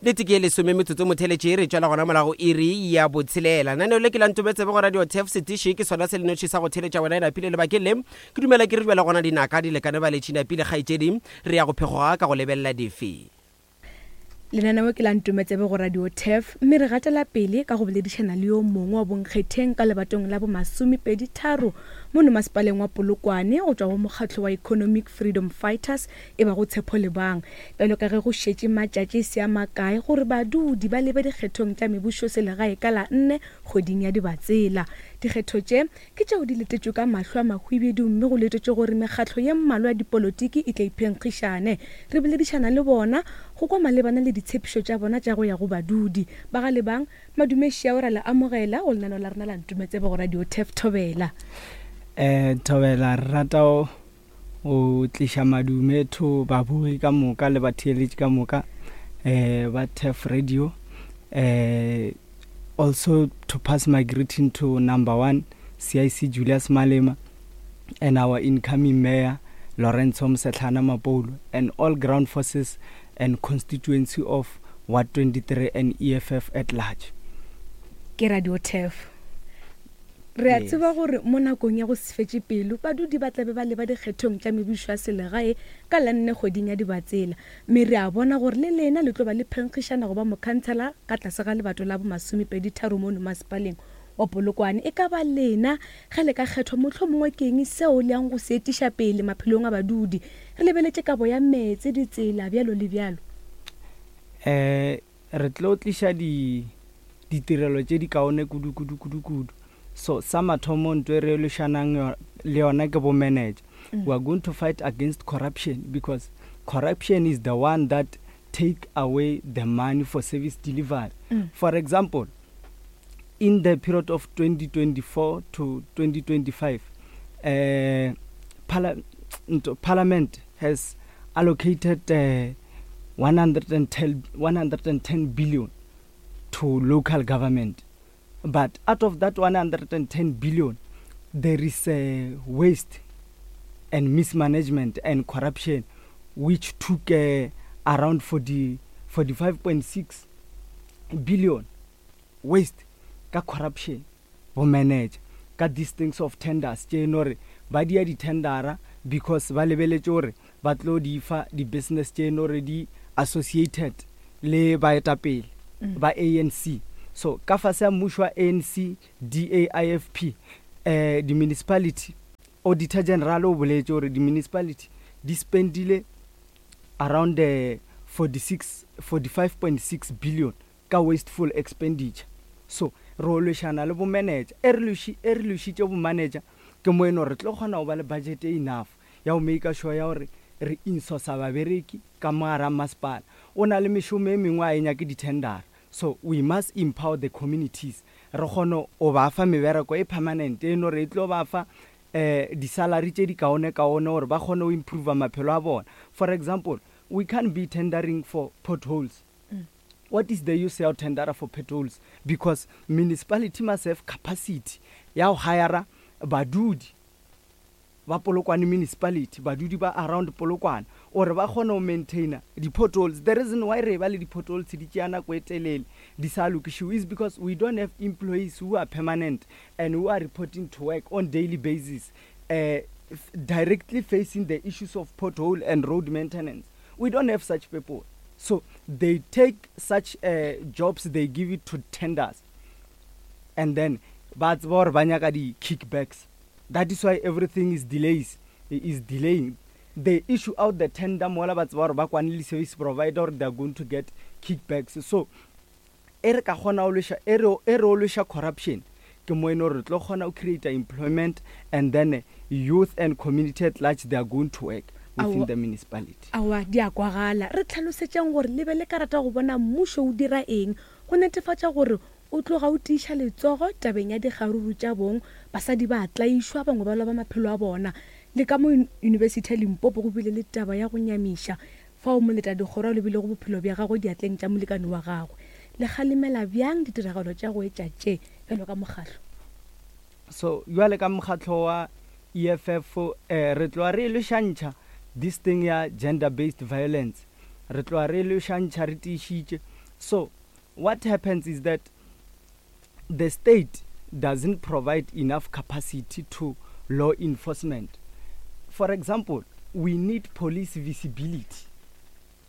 Nnete ke ye lesome metsotso motheletše re tšwela gona morago iri ya botshelela. Naneo le ke la Ntometsebe go Radio Turf setiši ke sona se lenoši sa go theletša wena e napile lebakeng le. Ke dumela ke re bjale gona dinaka di lekane baletši napile kgaetšedi re ya go phegoga ka go lebelela dife. Lenaneo ke la Ntometsebe go Radio Turf mme re gatela pele ka go boledišana le yo mongwe wa bonkgetheng ka lebatong la bomasomepedi tharo mono masepaleng wa Polokwane go tšwa go mokgatlo wa Economic Freedom Fighters e bago Tshepo Lebang. Bjalo ka ge go šetše matšatši e se a makae gore badudi ba lebe dikgethong tša mebušoselegae ka la nne kgweding ya Dibatsela. Dikgetho tše Ke tšeo di letetšwe ka mahlo a mahwibidu mme go letetšwe gore mekgatlo ye mmalwa ya dipolotiki e tle iphenkgišane. Re boledišana le bona go kwa malebana le ditshepišo tša bona tša go ya go badudi. Ba ga Lebang, Madume Šiao ra le amogela go lenaneo la rena la Ntumetsebe go Radio Turf Thobela. Eh, Thobela, re rata go tliša madume to babogi ka moka le batheeletši ka moka eh, ba Turf Radio. Eh, also to pass my greeting to number one CIC Julius Malema and our incoming mayor Lorenzo Mosehlana Mapoulo and all ground forces and constituency of Ward 23 and EFF at large. Ke Radio Turf. Re a tseba gore mo nakong ya go se fetše pelo, badudi ba tla be ba leba dikgethong tša mebušo ya selegae ka la nne kgweding ya Dibatsela, mme re a bona gore le lena le tlo ba le phenkgišana go ba mokhansela ka tlase ga lebato la bomasomepeditharo mono masepaleng wa Polokwane. E ka ba lena ge le ka kgethwa, mohlomongwe ke eng seo le yang go se etiša pele maphelong a badudi? Re lebeletše kabo ya meetse, ditsela, bjalo le bjalo. Um Re tlo tliša di, ditirelo tše di kaone kudu, kudu, kudu, kudu. So, sa mathomo nto e re lwešanang le yona ke bo manager. We are going to fight against corruption because corruption is the one that take away the money for service delivery. For example, in the period of 2024 to 2025, uh, parla Parliament has allocated uh, 110, 110 billion to local government. But out of that 110 billion, there is uh, waste and mismanagement and corruption, which took uh, around 40, 45.6 billion waste ka corruption bo manager ka these things of tenders tše no re ba dia di-tendera because ba lebeletše gore ba tlo di fa di-business tše no re di associated le baetapele mm. ba ANC so ka fase ya mmušo wa ANC DA IFP eh di-municipality auditor general o boletše gore di-municipality di spendile around uh, 46 45.6 billion ka wasteful expenditure. So, re o lwešana le bo manager. E re lweši, e re lwešitše bo manager, ke mo e no re tlo kgona go ba le budget e enough ya go maker sure ya gore re insourcer babereki ka mo gare ga masepala. O na le mešomo e mengwe a e nyake di-tendera. So, we must empower the communities re kgone go ba fa mebereko e permanent e no re e tlo ba fa um di-salary tše di kaone-kaone gore ba kgone go improver maphelo a bona. For example, we can't be tendering for potholes. What is the use ya go tendera for potholes because municipality must have capacity ya go hire badudi ba Polokwane municipality, badudi ba around Polokwane gore ba kgone go maintainer di-potholes. The reason why re ba le di-potholes di tšea nako e telele di sa lokišiwe is because we don't have employees who are permanent and who are reporting to work on daily basis uh, directly facing the issues of pothole and road maintenance. We don't have such people. So they take such uh, jobs, they give it to tenders. And then ba tseba gore ba nyaka di-kickbacks. That is why everything is delays, is delaying. They issue out the tender mola ba tseba gore ba kwane le service provider gore they are going to get kickbacks. So e re ka kgona go lweša e re e re o lweša corruption ke mo e no re tlo kgona go create employment and then youth and community at large they are going to work within the municipality. Aowa, di a kwagala. Re hlalosetšeng gore le be le ka rata go bona mmušo o dira eng go netefatša gore o tloga o tiiša letsogo tabeng ya dikgaruru tša bong, basadi ba a tlaišwa, bangwe ba loba maphelo a bona. Le ka mo Yunibesithi ya Limpopo go bile le taba ya go nyamiša fao moletadikgoro a lobilego bophelo bja gagwe diatleng tša molekane wa gagwe. Le kgalemela bjang ditiragalo tša go etša tše bjalo ka mokgatlo? So bjale ka mokgatlo wa EFF eh, re tloga re e lwešantšha this thing ya gender based violence, re tloga re e lwešantšha re tiišitše. So what happens is that the state doesn't provide enough capacity to law enforcement. For example, we need police visibility.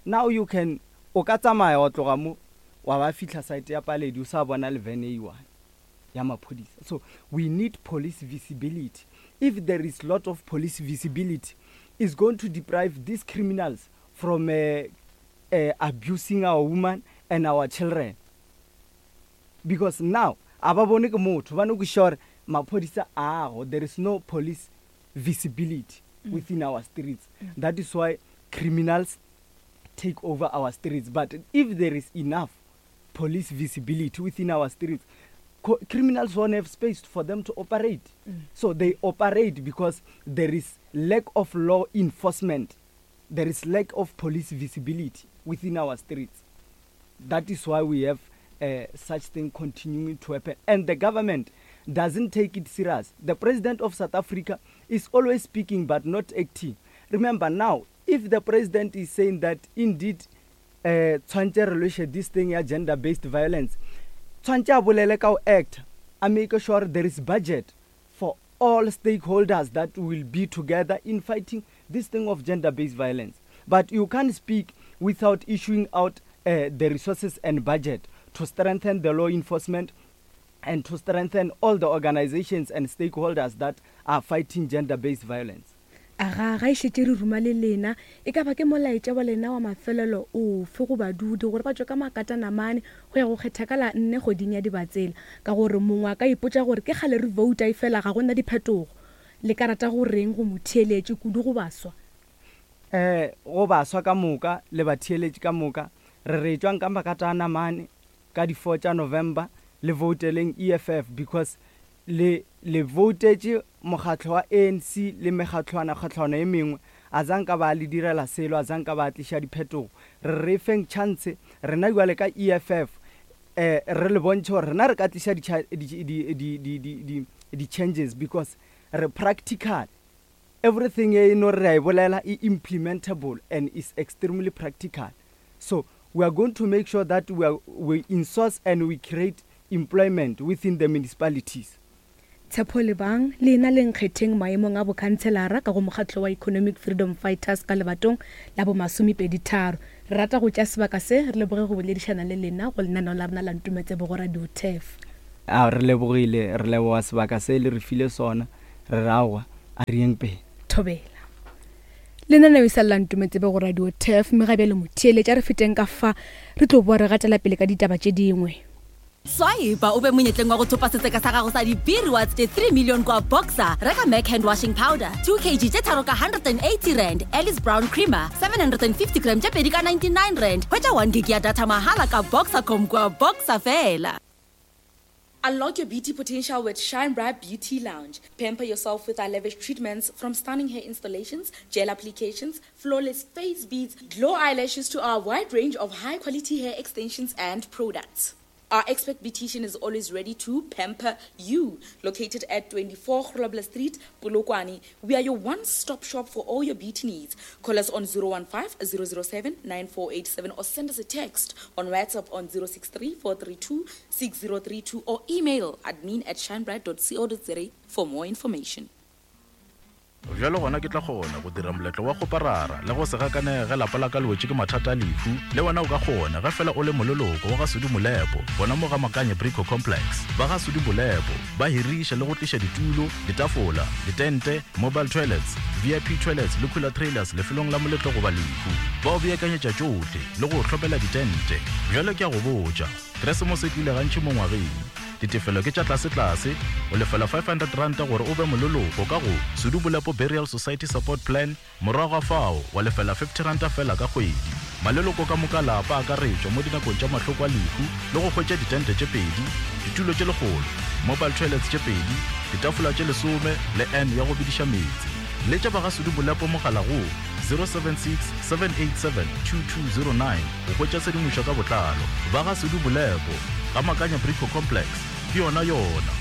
Now you can o ka tsamaya wa tloga mo wa ba fihla site ya Paledi o sa bona le van e one ya maphodisa. So we need police visibility. If there is lot of police visibility, it's going to deprive these criminals from uh, uh, abusing our women and our children. Because now a ba bone ke motho ba no kwešiša gore maphodisa ago there is no police visibility mm. within our streets mm. that is why criminals take over our streets but if there is enough police visibility within our streets criminals won't have space for them to operate mm. so they operate because there is lack of law enforcement there is lack of police visibility within our streets That is why we have uh, such thing continuing to happen. And the government doesn't take it serious. The president of South Africa is always speaking but not acting. Remember now, if the president is saying that indeed uh, tshwantse re lweshe this thing ya gender based violence tshwantse a bolele ka go act a make sure there is budget for all stakeholders that will be together in fighting this thing of gender based violence but you can't speak without issuing out uh, the resources and budget to strengthen the law enforcement and to strengthen all the organizations and stakeholders that are fighting gender-based violence. Aga, ga e šetše re ruma le lena, e ka ba ke molaetša wa lena wa mafelelo ofe go badudi gore ba tšwe ka makatanamane go ya go kgetha ka la nne kgweding ya Dibatsela? Ka gore mongwe a ka ipotša gore ke kgale re vouta efela ga go na diphetogo. Le ka rata go reng go motheeletši, kudu go baswa? Um go baswa ka moka le batheeletši ka moka, re re etšwang ka makatanamane ka di four tša November le vouteleng EFF because le le voutetše mokgatlo wa ANC le mekgatlwana-kgatlwana e mengwe a zanka ba le direla selo a zanka ba tliša diphetogo. Re re feng chance rena bjale ka EFF eh re le bontšhe gore rena re ka tliša di di di di di di di changes because re practical. Everything e no re a e bolela e implementable and is extremely practical. So we are going to make sure that we are we insource and we create employment within the municipalities. Tshepo Lebang, le ena le nkgetheng maemong a bokhantshelara ka go mokgatlo wa Economic Freedom Fighters ka lebatong la bomasomepeditharo. Re rata go tšea sebaka se re leboge go boledišana le lena go lenaneo la rena la Ntumetsebo go Radio Turf. A re lebogile, re leboga sebaka se le re file sona, re re aowa, a re yeng pele. Thobela. Lenaneo e sa lela Ntumetsebe go Radio Turf, mme ga bjale motheeletša re feteng ka fa re tlo boa re gatela pele ka ditaba tše dingwe. Swipa o be monyetleng wa go thopa setseka sa gago sa di-beer rewards tše 3 million kwa Boxer. Reka Mac hand washing powder 2 kg tše tharo ka 180 rand, Alice Brown creamer 750 gram tše pedi ka 99 rand. Hwetša 1 gig ya data mahala ka Boxercom kwa Boxer fela. Unlock your beauty potential with Shine Bright Beauty Lounge. Pamper yourself with our lavish treatments from stunning hair installations, gel applications, flawless face beads, glow eyelashes to our wide range of high quality hair extensions and products. Our expert beautician is always ready to pamper you. Located at 24 Grobler Street, Polokwane, we are your one-stop shop for all your beauty needs. Call us on 015 007 9487 or send us a text on WhatsApp on 063 432 6032 or email admin at shinebright.co.za for more information. Bjalo gona ke tla kgona go dira moletlo wa kgoparara le go se gakanege ge lapa la ka le wetše ke mathata a lehu. Le wena o ka kgona ge fela o le moleloko wa ga Sudi Molepo gona mo ga Makanye Brico Complex. Ba ga Sudi Molepo ba hiriša le go tliša ditulo, ditafola, ditente, mobile toilets, VIP toilets le cooler trailers lefelong la moletlo goba lehu. Ba o beakanyetša tšohle le go o hlopela ditente. Bjalo ke a go botša, Keresemose e tlile gantši mo ngwageng. Ditefelo ke tša tlasetlase, o lefela R500 gore o be moleloko ka go Sudu Bolepo Burial Society Support Plan, morago ga fao wa lefela R50 feela ka kgwedi. Maleloko ka moka a lapa a akaretšwa mo dinakong tša mahloko a lehu le go hwetša ditente tše pedi, ditulo tše lekgolo, mobile toilets tše pedi, ditafola tše lesome le urn ya go bediša meetse. Letša ba ga Sudu Bolepo mogala go 076 787 2209 go hwetša tshedimošo ka botlalo. Ba ga Sudu Bolepo, Ga Makanya Brico Complex, ke yona yona.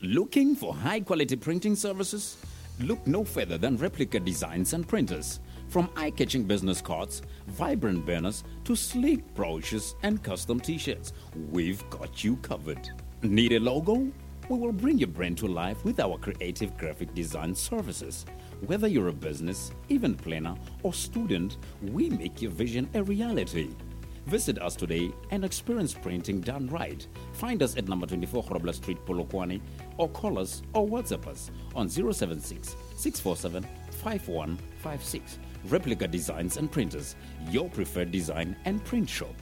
Looking for high quality printing services? Look no further than Replica Designs and Printers. From eye catching business cards, vibrant banners, to sleek brochures and custom t shirts, we've got you covered. Need a logo? We will bring your brand to life with our creative graphic design services. Whether you're a business, event planner, or student, we make your vision a reality. Visit us today and experience printing done right. Find us at number 24 Grobler Street, Polokwane, or call us or WhatsApp us on 076 647 5156. Replica Designs and Printers, your preferred design and print shop.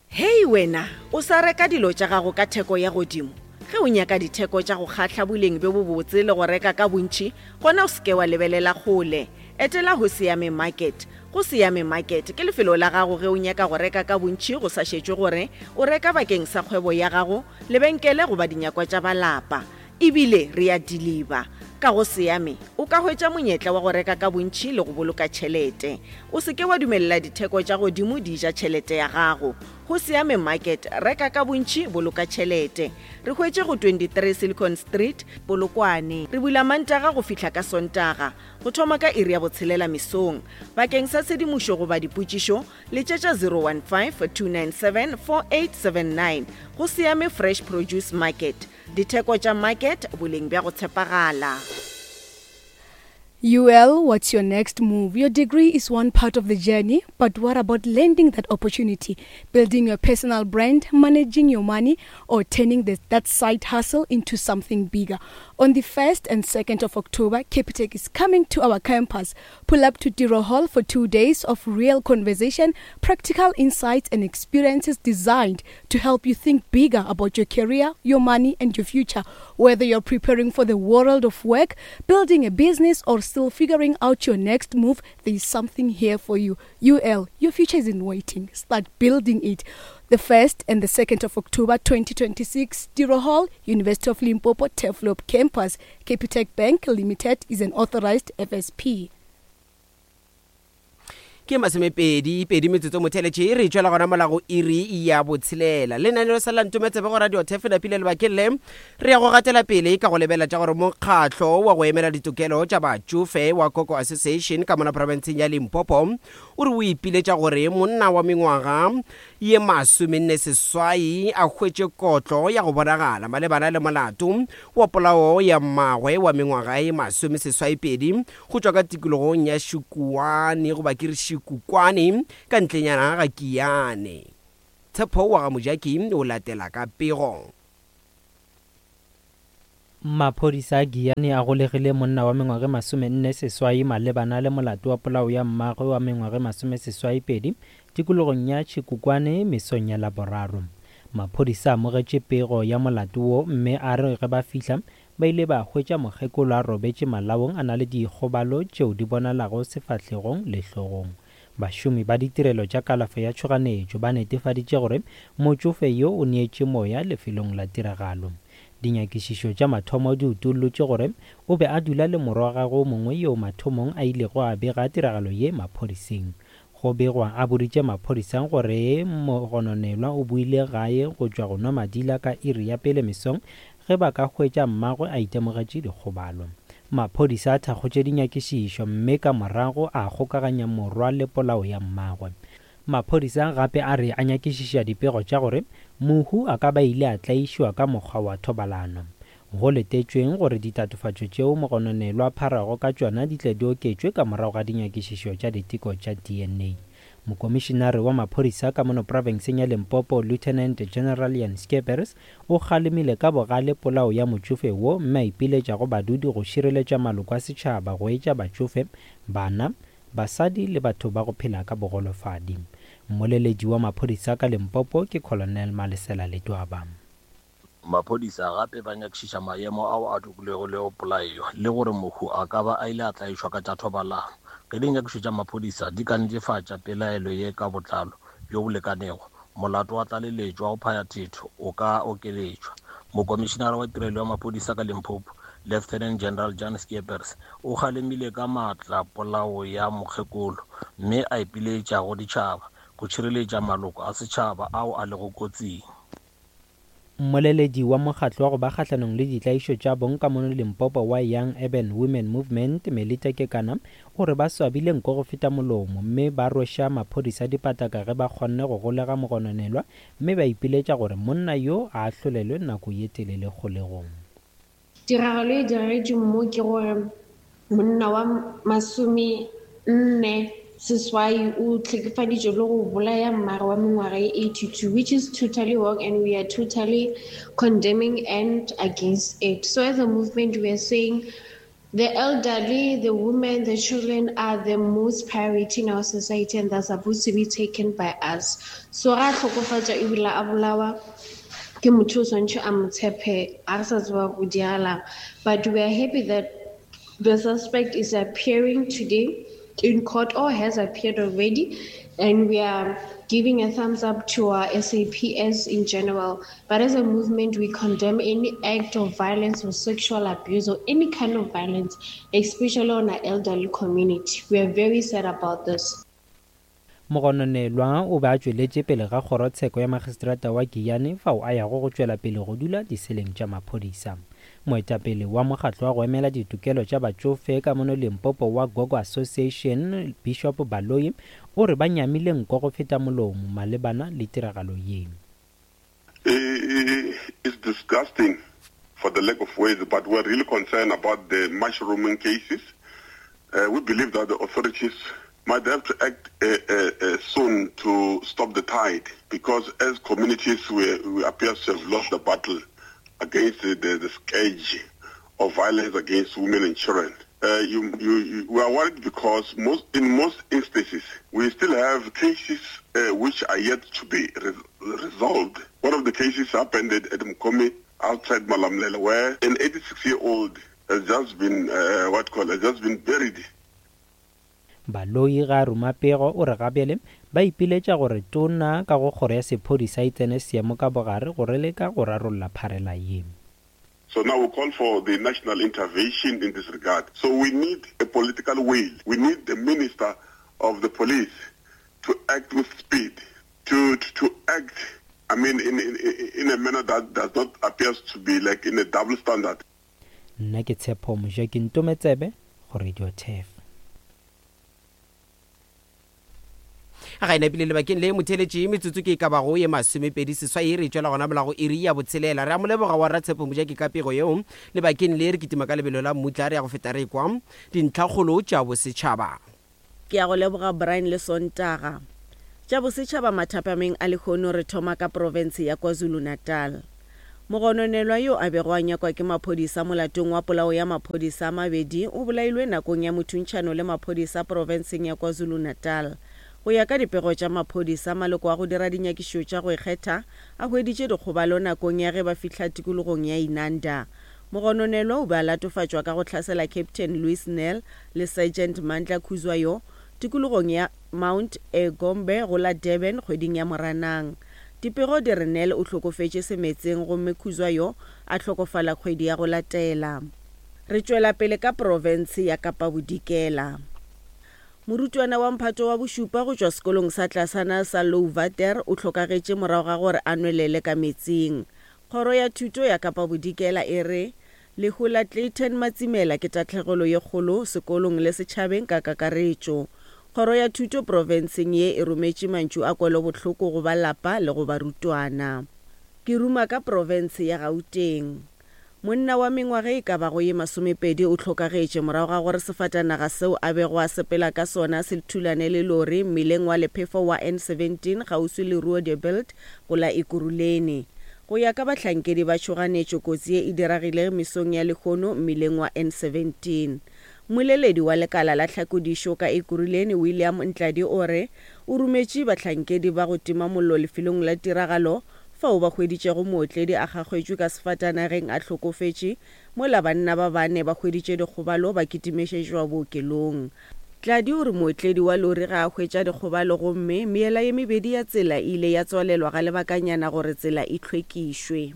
Hei wena, o sa reka dilo tša gago ka theko ya godimo? Ge o nyaka ditheko tša go kgahla boleng bjo bobotse le go reka ka bontši, gona o se ke wa lebelela kgole. Etela Hosiame Market. Go Siame Market ke lefelo la gago ge o nyaka go reka ka bontši go sa šetšwe gore o reka bakeng sa kgwebo ya gago, lebenkele goba dinyakwa tša ba lapa. E bile re a diliba. Ka go Siame, o ka hwetša monyetla wa go reka ka bontši le go boloka tšhelete. O se ke wa dumelela ditheko tša godimo di ja tšhelete ya gago. Go Siame Market, reka ka bontši, boloka tšhelete. Re hwetše go 23 Silicon Street, Polokwane. Re bula Mantaga go fihla ka Sontaga, go thoma ka iri ya botshelela mesong. Bakeng sa tshedimošo goba dipotšišo, letšetša 015 297 4879. Go Siame Fresh Produce Market. Ditheko tša market, boleng bja go tshepagala. UL, what's your next move? Your degree is one part of the journey, but what about landing that opportunity, building your personal brand, managing your money, or turning the, that side hustle into something bigger? On the 1st and 2nd of October, Capitec is coming to our campus. Pull up to Tiro Hall for two days of real conversation, practical insights, and experiences designed to help you think bigger about your career, your money, and your future. Whether you're preparing for the world of work, building a business, or still figuring out your next move, there's something here for you. UL, your future isn't waiting. Start building it. The 1st and the 2nd of October 2026, Tiro Hall, University of Limpopo, Teflop Campus. Capitec Bank Limited is an authorized FSP. Ke masomepedi pedi metsotso motheletše e re tšwela gona mola go iri ya botshelela. Lenaneo sa la Ntometsebe go Radio Turf napile lebakeng le re ya go gatela pele ka go lebelela tša gore mokgatlo wa go emela ditokelo tša batšofe wa Koko Association ka mona profenseng ya Limpopo o re o ipiletša gore monna wa mengwaga ye masomenne seswai a hwetše kotlo ya go bonagala malebana le molato wa polao ya mmagwe wa mengwaga ye masomeseswaipedi go tšwa ka tikologong ya Šikuane goba ke re Šikukwane ka ntlenyana ga Kiane. Tshepo wa ga Mojaki o latela ka pego. Maphodisa a Giyani a golegile monna wa mengwaga e 48 malebana le molato wa polao ya mmagwe wa mengwaga e 82 tikologong ya Chikukwane mesong ya Laboraro. Maphodisa a amogetše pego ya molato wo mme a re ge ba fihla ba ile ba hwetša mokgekolo a robetše malaong a na le dikgobalo tšeo di bonalago sefahlegong le hlogong. Bašomi ba ditirelo tša kalafo ya tšhoganetšo ba netefaditše gore motšofe yo o neetše moya lefelong la tiragalo. Dinyakišišo tša mathomo di utollotše gore o be a dula le morwa wa gagwe o mongwe yoo mathomong a ilego a bega tiragalo ye maphodiseng. Go begwa a boditše maphodisa gore mogononelwa o boile gae go tšwa go nwa madila ka iri ya pele mesong ge ba ka hwetša mmagwe a itemogetše dikgobalo. Maphodisa a thakgotše dinyakišišo mme ka morago a kgokaganya morwa le polao ya mmagwe. Maphodisa gape a re a nyakišiša dipego tša gore mohu a ka ba ile a tlaišwa ka mokgwa wa thobalano. Go letetšweng gore ditatofatšo tšeo mogononelwa a pharago ka tšona di tle di oketšwe ka morago ga dinyakišišo tša diteko tša DNA. Mokomišinare wa maphodisa ka mono profenseng ya Limpopo, Lieutenant General Jan Scheepers, o kgalemile ka bogale polao ya motšofe wo mme a ipiletša go badudi go šireletša maloko a setšhaba go etša batšofe, bana, basadi le batho ba go phela ka bogolofadi. Mmoleledi wa maphodisa ka Limpopo ke Colonel Malesela Ledwaba. Maphodisa gape ba nyakišiša maemo ao a dukilego le go polayo le gore mohu a ka ba a ile a tlaišwa ka tša thobalano. Ge dinyakišo tša maphodisa di ka netefatša pelaelo ye ka botlalo bjo bo lekanego, molato wa tlaleletšo wa go phaya thetho o ka okeletšwa. Mokomišinara wa Tirelo ya Maphodisa ka Limpopo, Lieutenant General Jan Scheepers, o kgalemile ka maatla polao ya mokgekolo mme a ipiletša go ditšhaba go tšhireletša maloko a setšhaba ao a lego kotsing. Mmoleledi wa mokgatlo wa go ba kgahlanong le ditlaišo tša bong ka mono Limpopo wa Young Urban Women Movement, Melita Kekana, o re ba swabile nko go feta molomo mme ba rweša maphodisa dipataka ge ba kgonne go golega mogononelwa mme ba ipiletša gore monna yo a ahlolelwe nako ye telele kgolegong. Tiragalo e diragetšeng mo ke gore monna wa masomenne seswai o hlekefaditšwe le go bolaya mmagwe wa mengwaga ye 82 which is totally wrong and we are totally condemning and against it. So as a movement we are saying the elderly, the women, the children are the most priority in our society and they're supposed to be taken by us. So ga hlokofatša ebile a bolawa ke motho o swantšhe a mo tshepe a re sa tseba go diragalang but we are happy that the suspect is appearing today in court or has appeared already and we are giving a thumbs up to our SAPS in general. But as a movement, we condemn any act of violence or sexual abuse or any kind of violence, especially on our elderly community. We are very sad about this. Mogononelwa o be a tšweletše pele ga kgorotsheko ya magistrata wa Giyani fao a yago go tšwela pele go dula diseleng tša maphodisa. Moetapele wa mokgatlo wa go emela ditokelo tša batšofe ka mono Limpopo wa Gogo Association, Bishop Baloyi, o re ba nyamile nko go feta molomo malebana le tiragalo ye. It's disgusting for the lack of words, but we're really concerned about the mushrooming cases. Uh, we believe that the authorities might have to act uh, uh, uh, soon to stop the tide because as communities we, we appear to have lost the battle against the, the, the scourge of violence against women and children. Uh, you, you, you, we are worried because most, in most instances we still have cases uh, which are yet to be re resolved. One of the cases happened at, at Mkomi outside Malamlela where an 86-year-old has just been, uh, what call, has just been buried. Baloyi ga a ruma pego o re gabjale ba ipiletša gore tona ka go kgoro ya sephodisa e tsene seemo ka bogare go re leka go rarolla pharela ye. So now we call for the national intervention in this regard. So we need a political will. We need the minister of the police to act with speed, to, to, to act, I mean, in, in, in a manner that does not appear to be like in a double standard. Nna ke Tshepo Mojaki Ntometsebe go Radio Turf. Ga e napile lebakeng le motheletše metsotso ke e ka bago ye masomepedi seswai re tšwela gona molago iri ya botshelela. Re a mo leboga wa Ratshepo Mojaki ka pego yeo. Lebakeng le re kitima ka lebelo la mmutla re ya go feta re kwa dintlhakgolo tša bosetšhaba. Ke a go leboga Brian le Sontaga. Tša bosetšhaba mathapameng a lehono re thoma ka profense ya KwaZulu-Natal. Mogononelwa yo a bego a nyakwa ke maphodisa molatong wa polao ya maphodisa a mabedi o bolailwe nakong ya mothuntšhano le maphodisa profenseng ya KwaZulu-Natal. Go ya ka dipego tša maphodisa, maloko a go dira dinyakišišo tša go ikgetha a hweditše dikgobalo nakong ya ge ba fihla tikologong ya Inanda. Mogononelwa o be a latofatšwa ka go hlasela Captain Louis Nel le Sergeant Mandla Khuzwayo tikologong ya Mount Egombe go la Durban kgweding ya Moranang. Dipego di re Nel o hlokofetše semetseng gomme Khuzwayo a hlokofala kgwedi ya go latela. Re tšwela pele ka profense ya Kapa Bodikela. Morutwana wa mphato wa bošupa go tšwa sekolong sa tlasana sa Louwater o hlokagetše morago ga gore a nwelele ka metsing. Kgoro ya Thuto ya Kapa Bodikela e re lehu la Clayton Matsimela ke tahlegelo ye kgolo sekolong le setšhabeng ka kakaretšo. Kgoro ya Thuto profenseng ye e rometše mantšu a kwelobohloko go ba lapa le go barutwana. Ke ruma ka profense ya Gauteng. Monna wa mengwaga e ka bago ye masomepedi o hlokagetše morago ga gore sefatanaga seo a bego a sepela ka sona se thulane le lori mmileng wa lephefo wa N17 kgauswi le Roodebilt go la Ekurhuleni. Go ya ka bahlankedi ba tšhoganetšo kotsi ye e diragile mesong ya lehono mmileng wa N17. Mmoleledi wa lekala la tlhakodišo ka Ekurhuleni William Ntladi o re o rometše bahlankedi ba go tima mollo lefelong la tiragalo fao ba hweditšego mootledi a kgakgetšwe ka sefatanageng a hlokofetše, mola banna ba bane ba hweditše dikgobalo ba kitimešetšwa bookelong. Tladi o re mootledi wa lori ga a hwetša dikgobalo gomme meela ye mebedi ya tsela e ile ya tswalelwa ga lebakanyana gore tsela e hlwekišwe.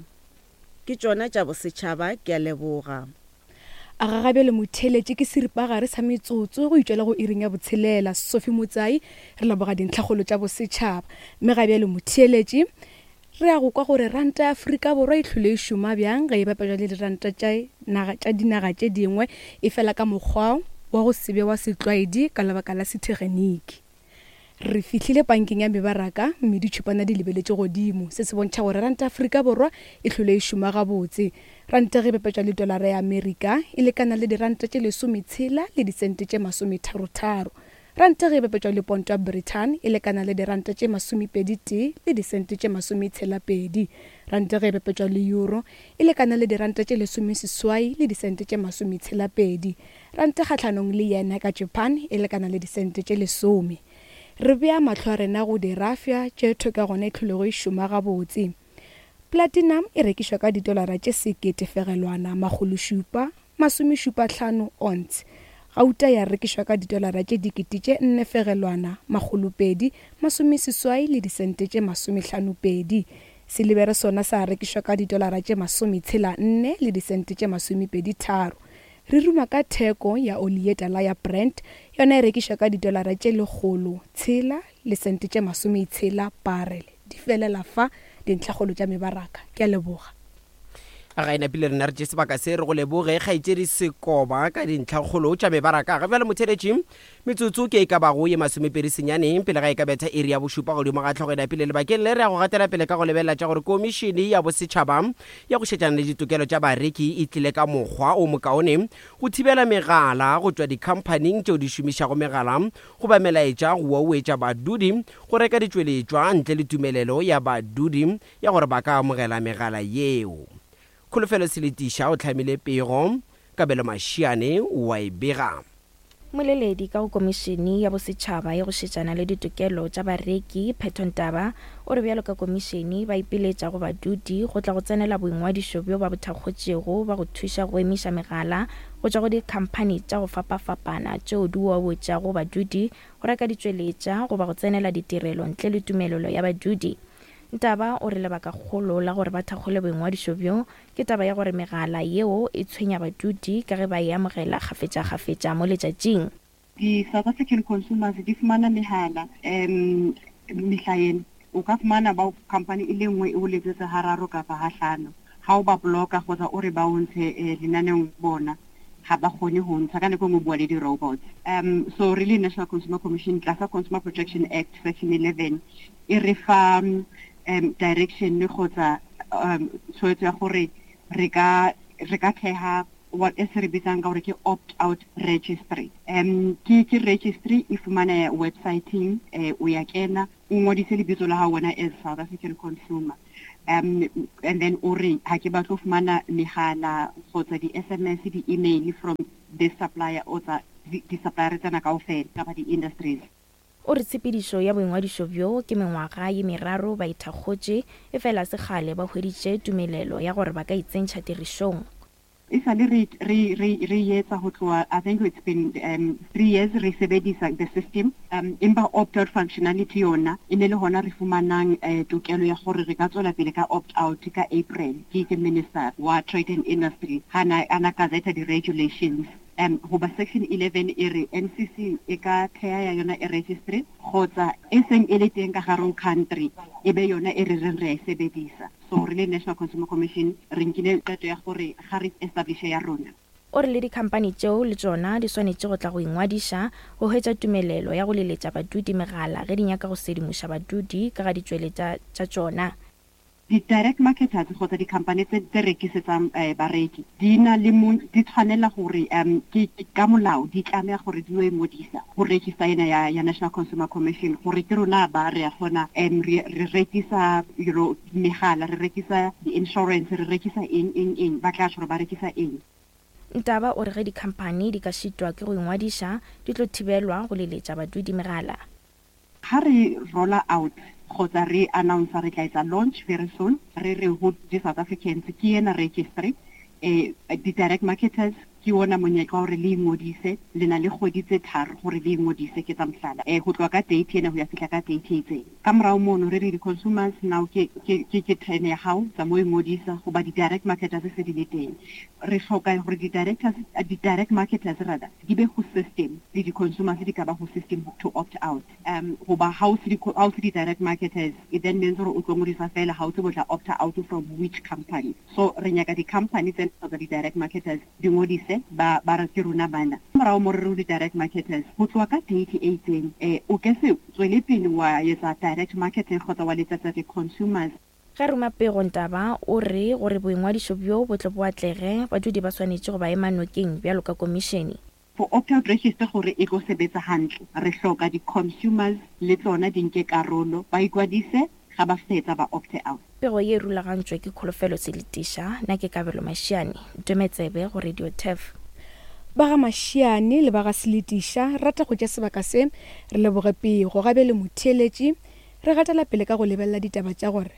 Ke tšona tša bosetšhaba, ke a leboga. A ga gabjale motheeletši ke seripagare sa metsotso go itšwela go iring ya botshelela. Sophie Motsai, Re leboga dintlhakgolo tša bosetšhaba. Mme gabjale motheeletši, Re ya go kwa gore ranta ya Afrika Borwa e hlwele e šoma bjang ge e bapetšwa le diranta tša naga tša dinaga tše dingwe, efela ka mokgwa wa go se be wa setlwaedi ka lebaka la setegeniki. Re fihlile pankeng ya mebaraka mme ditšhupana di lebeletše godimo. Se se bontšha gore ranta ya Afrika Borwa e hlwele e šoma gabotse. Ranta ge e bapetšwa le tolara ya Amerika e lekana le diranta tše lesometshela le disente tše masometharotharo. Ranta ge e bapetšwa le ponto ya Brithani e lekana le diranta tše masomepedi-tee le disente tše masometshela-pedi. Ranta ge e bapetšwa le euro e lekana le diranta tše lesomeseswai le disente tše masometshela-pedi. Ranta kgahlanong le yen ya ka Japan e lekana le disente tše lesome. Re bea mahlo a rena go dirafša tše thwe ka gona e hlolego e šoma gabotse. Platinum e rekišwa ka ditolara tše sekete fegelwana makgološupa masomešupahlano ounce. Gauta ya rekišwa ka ditolara tše dikete tše nne fegelwana makgolopedi masomeseswai le disente tše masomehlanopedi. Silibere sona sa rekišwa ka ditolara tše masometshela nne le disente tše masomepeditharo. Re ruma ka theko ya oli ye tala ya Brent, yona e rekišwa ka ditolara tše lekgolo tshela le sente tše masometshela barele. Di felela fa dintlhakgolo tša mebaraka. Ke a leboga. Ga e napile rena re tše sebaka se re go leboge kgaetšedi Sekoba ka dintlhakgolo tša mebaraka. Ga bjale motheletši, metsotso ke e ka bago ye masomepedi senyane pele ga e ka betha iri ya bošupa godimo ga hlogo e napile. Lebakeng le re ya go gatela pele ka go lebelela tša gore Komišene ya Bosetšhaba ya go Šetšana le Ditokelo tša Bareki e tlile ka mokgwa o mokaone go thibela megala go tšwa dikhamphaning tšeo di šomišago megala goba melaetša go wauetša badudi go reka ditšweletšwa ntle le tumelelo ya badudi ya gore ba ka amogela megala yeo. Kholofelo Seletiša o hlamile pego, Kabelo Mashiane o a e bega. Mmoleledi ka go Komišene ya Bosetšhaba ya go Šetšana le Ditokelo tša Bareki, Phetho Ntaba, o re bjalo ka komišene ba ipiletša go badudi go tla go tsenela boingwadišo bjo ba bo thakgotšego ba go thuša go emiša megala go tšwa go dikhamphani tša go fapafapana tšeo di oawetšago badudi go reka ditšweletša goba go tsenela ditirelo ntle le tumelelo ya badudi. Ntaba o re lebakakgolo la gore ba thakgole boingwadišo bjo ke taba ya gore megala yeo e tshwenya badudi ka ge ba e amogela kgafetšakgafetša mo letšatšing. Di-South African consumers di fumana mehala um mehla ena. O ka fumana ba company e le nngwe e o letsetsa hararo kapa hahlano. Ha o ba blocker kgotsa o re ba o ntshe eh, lenaneong bona ga ba kgone go ntsha ka nako e nngwe bua le di-robots. Um so really National Consumer Commission tlasa Consumer Protection Act section 11 e re fa um direction kgotsa um tshwetso ya gore re ka re ka theha what e se re bitsang ka gore ke opt out registry um ke ke registry e fumaneha websiteng eh, o ya kena o ngodise lebitso la hao wena as South African consumer um and then o re ha ke batlo fumana megala kgotsa di-sms di-email from this supplier o tsa di-supplier tsena kaofela kapa di-industries. O re tshepedišo ya boingwadišo bjo ke mengwaga ye meraro ba e thakgotše, efela se kgale ba hweditše tumelelo ya gore ba ka itsentšha tirišong. E sa le re, re, re, re e etsa ho tloha, I think it's been um, three years re sebedisa the system, um, empa opt-out functionality yona e ne le hona re fumanang eh, tokelo ya gore re ka tswela pele ka opt-out ka April ke ke Minister wa Trade and Industry ha na, a na gazeta di-regulations. Um goba Section 11 e re NCC e ka thea ya yona e registry kgotsa e seng e le teng ka gare ho country e be yona e re reng re a e sebedisa. So re le National Consumer Commission re nkile qeto ya gore ga re establishe ya rona. O re le dikhamphani tšeo le tšona di swanetše go tla go ingwadiša go hwetša tumelelo ya go leletša badudi megala ge di nyaka go sedimoša badudi ka ga ditšweletša tša tšona. Di-direct marketers kgotsa di-company tse tse rekisetsang eh, bareki di na le mo di tshwanela gore um ke ka molao di tlameha gore di yo ingodisa go register ena ya, ya National Consumer Commission gore ke rona ba re ya kgona um re re rekisa you know megala re rekisa di-insurance re rekisa eng eng eng ba tla tjho gore ba rekisa eng. Ntaba o re ge dikhamphani di ka šitwa ke go ingwadiša di tlo thibelwa go leletša badudi megala. Ga re roller out kgotsa re announcer re tla etsa launch very soon, re re ho di South Africans ke ena registry, eh, di direct marketers Ke wona monyetla wa hore le ingodise, le na le kgwedi tse tharo hore le ingodise, ke tsa mohlala, eh, ho tloha ka date ena ho ya fihla ka date e itseng. Ka morao mono re re di-consumers now ke, ke, ke, ke turn ya hao, tsamaya o ingodisa hoba di-direct marketers se di le teng. Re hloka hore di-directors, di-direct marketers rather, di be ho system, le di-consumers di ka ba ho system to opt out. Um goba ha o se di ha o se di-direct marketers, it then means gore o tlo ngodisa fela, ha o tsebe o tla opta out from which company. So re nyaka di-company tsena kgotsa di-direct marketers di ngodise, ba ba re ke rona bana. Morago mo re re ho di-direct marketers, ho tloha ka date e itseng, eh, o ke se tswele pele wa etsa direct marketing kgotsa wa letsetsa di-consumers. Ge a ruma pego Ntaba o re gore boingwadišo bjo bo tle bo atlege, badudi ba swanetše go ba ema nokeng bjalo ka komišene. For opt-out register gore e tlo sebetsa hantle, re hloka di-consumers le tsona di nke karolo, ba ikwadise, ga ba fetsa ba opte out. Pego ye e rulagantšwe ke Kholofelo Selitiša, nna ke Kabelo Mashiane, Ntome Tsebe go Radio Turf. Ba ga Mashiane le ba ga Selitiša re rata go tšea sebaka se re leboge pego. Ga bjale motheeletši re gatela pele ka go lebelela ditaba tša gore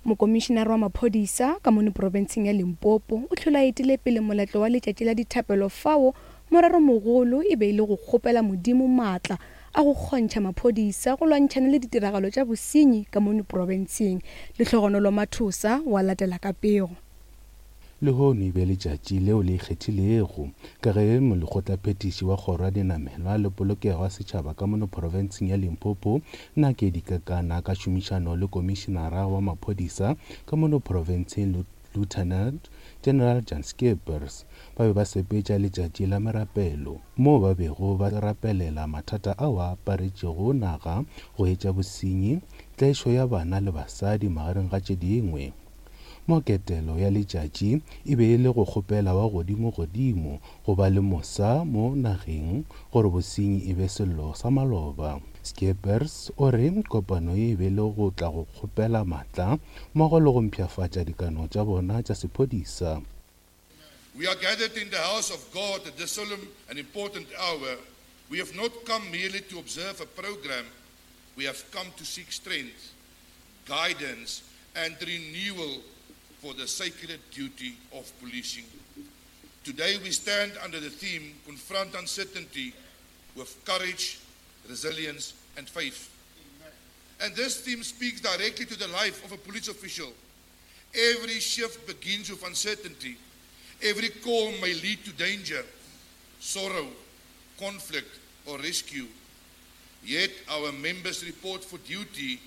Mokomišenare wa maphodisa ka mono profenseng ya Limpopo o hlole a etile pele moletlo wa letšatši la dithapelo fao moreromogolo e be e le go kgopela Modimo maatla a go kgontšha maphodisa go lwantšhana le ditiragalo tša bosenyi ka mono profenseng. Lehlogonolo Mathosa wa latela ka pego. Lehono e be letšatši leo le ikgethilego, ka ge molekgotlaphethiši wa Kgoro ya Dinamelwa le Polokego ya Setšhaba ka mono profenseng ya Limpopo, Nakedi Kekana ka tšhomišano le Komišenara wa Maphodisa ka mono profenseng Lieutenant General Jan Scheepers ba be ba sepetša letšatši la merapelo moo ba bego ba rapelela mathata ao a aparetšego naga go etša bosenyi, tlaišo ya bana le basadi magareng ga tše dingwe. Mo ketelo ya letšatši e be e le go kgopela wa godimo-godimo go ba le mosa mo nageng gore bosenyi e be sello sa maloba. Scheepers o re kopano ye e be le go tla go kgopela matla mmogo le go mpshafatša dikano tša bona tša sephodisa. We are gathered in the house of God at this solemn and important hour. We have not come merely to observe a program. We have come to seek strength, guidance, and renewal for the sacred duty of policing. Today we stand under the theme Confront Uncertainty with Courage, Resilience, and Faith. And this theme speaks directly to the life of a police official. Every shift begins with uncertainty. Every call may lead to danger, sorrow, conflict, or rescue. Yet our members report for duty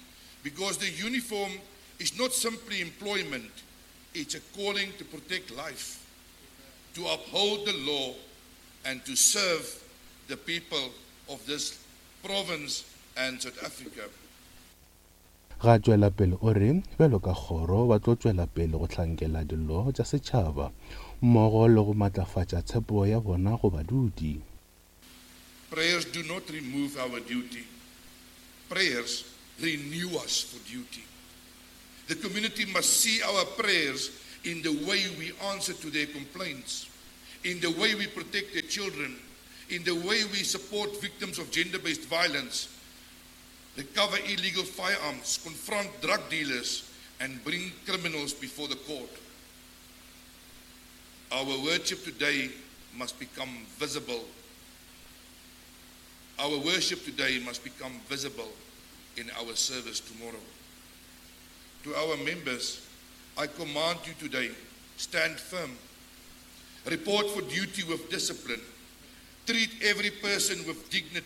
because the uniform is not simply employment, it's a calling to protect life, to uphold the law, and to serve the people of this province and South Africa. Ga tšwela pele o re bjalo ka kgoro ba tlo tšwela pele go hlankela dillo tša setšhaba mmogo le go matlafatša tshepo ya bona go badudi. Prayers do not remove our duty. Prayers renew us for duty. The community must see our prayers in the way we answer to their complaints, in the way we protect their children, in the way we support victims of gender-based violence, recover illegal firearms, confront drug dealers, and bring criminals before the court. Our worship today must become visible. Our worship today must become visible in our service tomorrow. To our members, I command you today, stand firm. Report for duty with discipline. Treat every person with dignity.